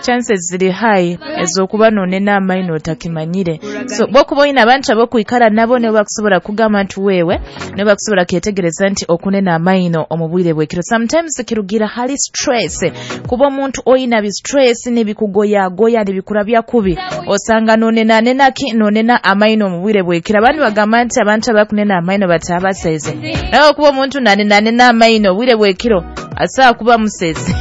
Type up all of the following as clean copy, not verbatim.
Chances ziri high ez'okuba nonena amaino otakimanyire. So bwokuba oyina abantu abokwikara nabo, nibo bakusobola kugamba nti wewe, nibo bakusobola kyetegereza nti okunena amaino omu bwire bwekiro. Sometimes kirugira hali stress, kuba omuntu oyina bi stress nibikugoyagoya, nibikurabya kubi, osanga nonenanena ki, nonena amaino omu bwire bwekiro. Abandi bagamba nti abantu abakunena amaino batabaseze, nawe kuba omuntu nanenanena amaino obwire bwekiro asobola kuba musezi.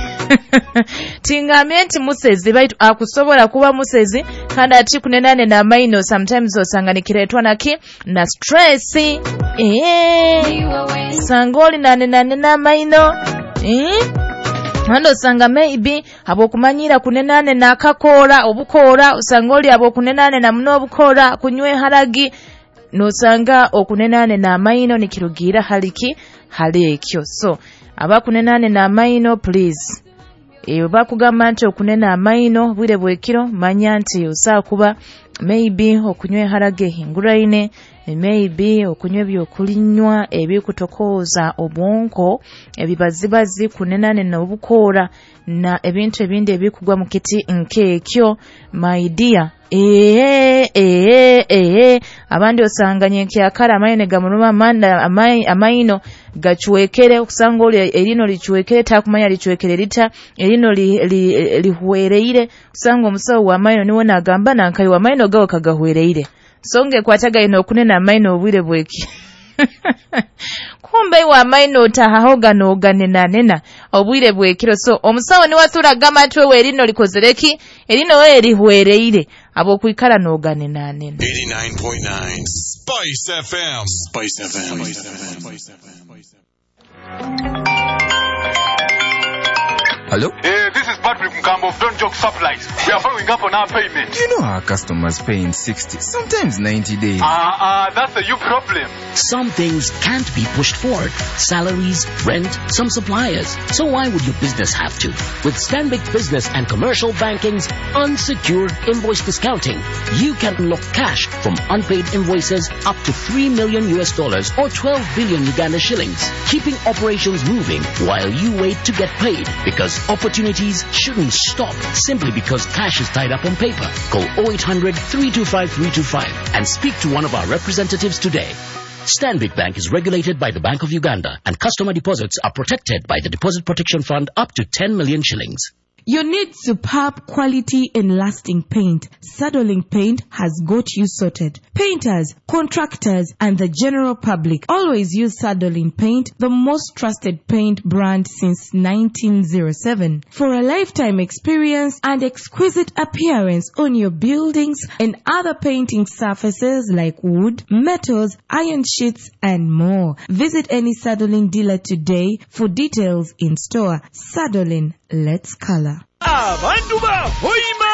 Tingambye nti musezi, baitu akusobola kuba musezi. Kandi ati kunenanena amaino sometimes osanga nikiretwa naki, na stress. Sanga oli nanenanena amaino, kandi osanga maybe habwokumanyira kunenanena akakora obukora, osanga oli habwokunenanena muno obukora, kunywa eharagi, nosanga okunenanena amaino nikirugira haliki, hali ekyo. So abakunenanena amaino, please, bakugamba nti okunena amaino bwire bwekiro, manya nti osaa kuba maybe okunywa eharage ehinguraine, maybe okunywa ebyokulinywa ebikutokooza obwonko, ebibazibazi, kunenanena obukora na ebintu ebindi ebikugwa mu kiti nk'ekyo, my dear. Abandi osanga nyenkyakara amaino gamuruma, amaino gachwekere, okusanga oli erino lichwekere, takumanya lichwekere lita, erino lihwereire, osanga omusawo w'amaino niwe nagamba nankayi w'amaino gawe kagahwereire. Songe kwatagaine okunena amaino obwire bweki. Kumbe iwe amaino otahahoga noganenanena obwire bwekiro. So omusawo niwe athura gamba nti wewe erino likozereki, erino wewe lihwereire, abokwikara noganenanena. 89.9 Spice FM. Spice FM. Spice FM. Hello? Hey, this is Patrick Mkambo of Don't Joke Supplies. We are following up on our payment. You know our customers pay in 60, sometimes 90 days. That's a you problem. Some things can't be pushed forward. Salaries, rent, some suppliers. So why would your business have to? With Stanbic Business and Commercial Banking's unsecured invoice discounting, you can unlock cash from unpaid invoices up to $3 million or 12 billion Uganda shillings, keeping operations moving while you wait to get paid. Because opportunities shouldn't stop simply because cash is tied up on paper. Call 0800 325 325 and speak to one of our representatives today. Stanbic Bank is regulated by the Bank of Uganda, and customer deposits are protected by the Deposit Protection Fund up to 10 million shillings. You need superb quality and lasting paint. Sadolin Paint has got you sorted. Painters, contractors, and the general public always use Sadolin Paint, the most trusted paint brand since 1907. For a lifetime experience and exquisite appearance on your buildings and other painting surfaces like wood, metals, iron sheets, and more. Visit any Sadolin dealer today for details in store. Sadolin, let's color. Abantu ba Hoima,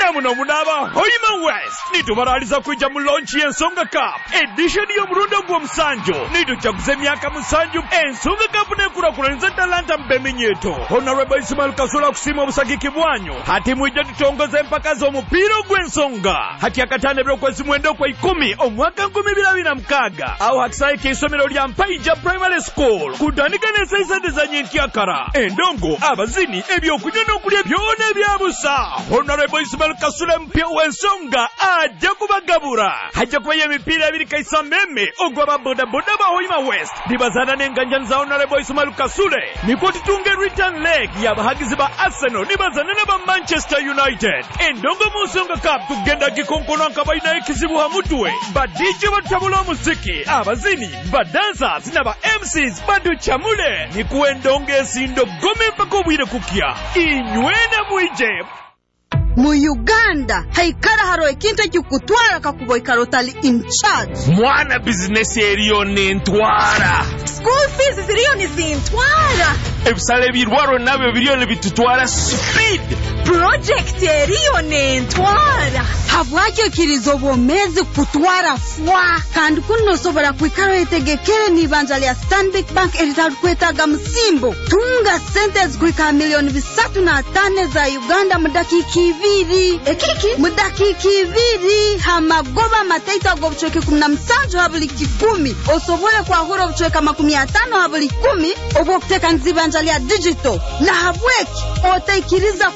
namuno munaba Hoima West, nitubaraliza kwijja mu launch y'Ensonga Cup edition y'omulundi ogw'omusanju. Nitujaguza emyaka 7 Ensonga Cup n'ekulakulaniza talanta mu beminyeto. Honorable Ismail Kasula kusiima obusagiki bwanyu. Hati mwijja tutongoza empaka z'omupiira ogw'ensonga hati akatano ebyokwezi 9 okwa 10 omwaka 2026, awo hakisaye k'isomero lya Mpaija Primary School, kutandika n'esaisente za nyenkyakara. Endongo, abazini, ebyokunywa n'okulya byona ebyabusa. Honorable Ismail Kasule mpya w'ensonga ajja kubagabura. Hajja kubayo emipiira ebiri kaisa meme ogw'aba bodaboda ba Hoima West nibazaana n'enganjani za Honorable Ismail Kasule, nikwo tutunge return leg y'abahagizi ba Arsenal nibazaana n'aba Manchester United. Endongo mu Nsonga Cup tugenda gikonkona nga balinayo ekizibu ha mutwe. Ba DJ batabula omuziki, abazini, ba dancers n'aba MCs baducamule, nikuwa endongo esindo gome mpaka obwire kukya. Inywena mwije. Mu Uganda haikara haro ekintu ekikutwara kakuba oikara otali in charge. Mwana, bizinesi eriyo nentwara. School fees ziriyo nizintwara. Ebisale ebirwaro nabyo biriyo nibitutwara speed. Project eriyo nentwara. Habwaki okiriza obwomezi kutwara fwa, kandi kuno nosobora kwikara oyetegekere n'ibanja lya Stanbic Bank eritarukwetaaga musimbo. Tunga sente zikuhika 305 million za Uganda mu dakiika 2. Ekiki? Mu dakiika 2 hamagoba mataito ag'obucweka 17 ha buli 100, osobole kwahura obucweka 50 ha buli 10 obw'okuteekaniza ibanja lya digital. Nahabweki otaikiriza.